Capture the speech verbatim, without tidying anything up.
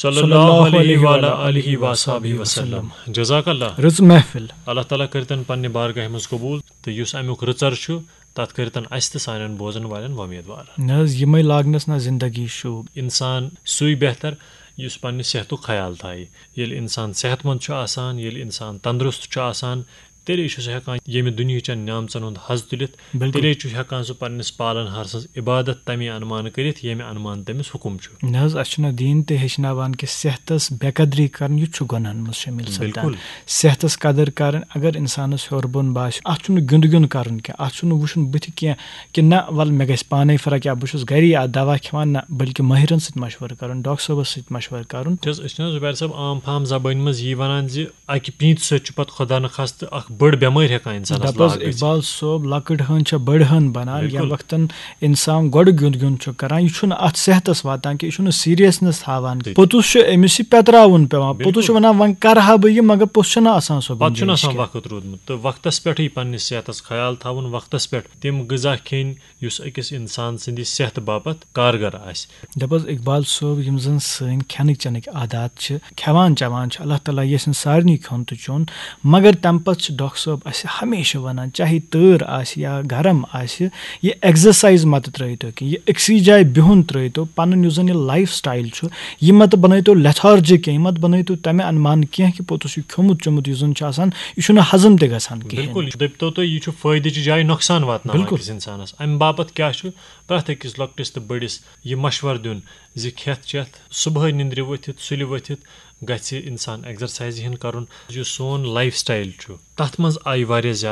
صلی اللہ علیہ وعلی آلہ وصحبہ وسلم۔ جزاک اللہ۔ رٕژ محفل۔ اللہ تعالیٰ کٔرتن پننہِ بارگاہہِ منٛز قبول، تہٕ یُس امیُک رٕژر چھُ، تتھ کٔرتن اسہِ تہٕ سانٮ۪ن بوزن والٮ۪ن وۄمیدوار۔ نہ حظ، یِمے لاگنس نہ زندگی شوٗب۔ انسان سُے بہتر یُس پننہِ صحتُک خیال تھایہِ۔ ییٚلہِ انسان صحت مند چھُ آسان، ییٚلہِ انسان تندرست چھُ آسان، تیٚلے چھُ سُہ ہٮ۪کان ییٚمہِ دُنیہٕچٮ۪ن نعمژن ہُنٛد حظ تُلِتھ۔ بِلکُل۔ تیٚلے چھُ ہٮ۪کان سُہ پننِس پالن ہارسٕنٛز عبادت تمے انمان کٔرِتھ، ییٚمہِ انمان تٔمِس حُکم چھُ۔ نہ حظ، اَسہِ چھُنہ دیٖن تہِ ہیٚچھناوان کہِ صحتس بے قدری کرٕنۍ، یہِ تہِ چھُ گۄناہن منٛز شٲمِل سپدان۔ بِلکُل۔ صحتس قدٕر کرٕنۍ، اگر انسانس ہیوٚر بۄن باسہِ، اتھ چھُنہٕ گِنٛدٕ گِنٛد کرُن کینٛہہ، اتھ چھُنہٕ وٕچھُن بٕتھِ کینٛہہ کہِ نہ، ول، مےٚ گژھِ پانے فرق، یا بہٕ چھُس گری اَتھ دوا کھٮ۪وان، نہ، بلکہِ مٲہرن سۭتۍ مشورٕ کرُن، ڈاکٹر صٲبس سۭتۍ مشورٕ کرُن۔ چھِ حظ، أسۍ چھِنہٕ حظ زُبیر صٲب عام فام زبٲنۍ منٛز یی ونان زِ اکہِ پیٖنتہِ سۭتۍ چھُ پتہٕ خۄدا نخواستہٕ اکھ بٔڑ بٮ۪مٲرۍ ہٮ۪کان انسانس دَپ حظ، لاگ گٔژھِتھ۔ اقبال صٲب، لۄکٕٹ ہٲنز چھےٚ بٔڑ ہٲن بنان۔ بِلکُل۔ ییٚمہِ وقتن انسان گۄڈٕ گیُنٛد گیُنٛد چھُ کران، یہِ چھُنہٕ اتھ صحتس واتان کہِ یہِ چھُنہٕ سیریسنس تھاوان۔ ٹھیٖک۔ پوٚتُس چھُ أمِس یہِ پٮ۪تراوُن پٮ۪وان۔ پوٚتُس چھُ بِلکُل۔ ونان، وۄنۍ کرٕ ہا بہٕ یہِ، مگر پوٚتُس چھُنہٕ آسان سۄ پتہٕ چھُنہٕ گُنجٲیِش آسان کینٛہہ۔ وقت روٗدمُت، تہٕ وقتس پٮ۪ٹھٕے پننِس صحتس خیال تھاوُن، وقتس پٮ۪ٹھ تِم غذا کھیٚنۍ یُس أکِس انسان سٕنٛدِ صحتہٕ باپتھ کارگر آسہِ۔ دَپ حظ اقبال صٲب، یِم زَن سٲنۍ کھٮ۪نٕکۍ چٮ۪نٕکۍ عادات چھِ، کھٮ۪وان چٮ۪وان چھِ، اللہ تعالیٰ یژھِن سارنٕے کھیوٚن تہٕ چیوٚن، مگر تَمہِ پَتہٕ چھِ ڈاکٹر صٲب اَسہِ ہمیشہِ وَنان، چاہے تۭر آسہِ یا گرم آسہِ، یہِ ایگزرسایز مَتہٕ ترٛٲیتو کینٛہہ، یہِ أکسٕے جایہِ بِہُن ترٛٲیتو، پَنُن یُس زَن یہِ لایف سٹایل چھُ، یہِ مَتہٕ بَنٲیتو لیتھارجِک کینٛہہ، یہِ مَتہٕ بَنٲیتو تَمہِ اَنمان کینٛہہ کہِ پوٚتُس یہِ کھیوٚمُت چیوٚمُت یُس زَن چھُ آسان، یہِ چھُنہٕ ہضم تہِ گژھان کِہیٖنۍ۔ بِلکُل، یہِ دٔپتو تُہۍ، یہِ چھُ فٲیدٕچہِ جایہِ نۄقصان واتناوان بِلکُل۔ أکِس اِنسانَس۔ اَمہِ باپَتھ کیٛاہ چھُ پرٛٮ۪تھ أکِس لۄکٹِس تہٕ بٔڑِس یہِ مشورٕ دیُن زِ کھٮ۪تھ چٮ۪تھ، صُبحٲے نِندرِ ؤتھِتھ، سُلہِ ؤتھِتھ گژھِ اِنسان ایگزرسایزِ ہِن کَرُن۔ یُس سون لایف سٹایل چھُ، تَتھ منٛز آیہِ واریاہ زیادٕ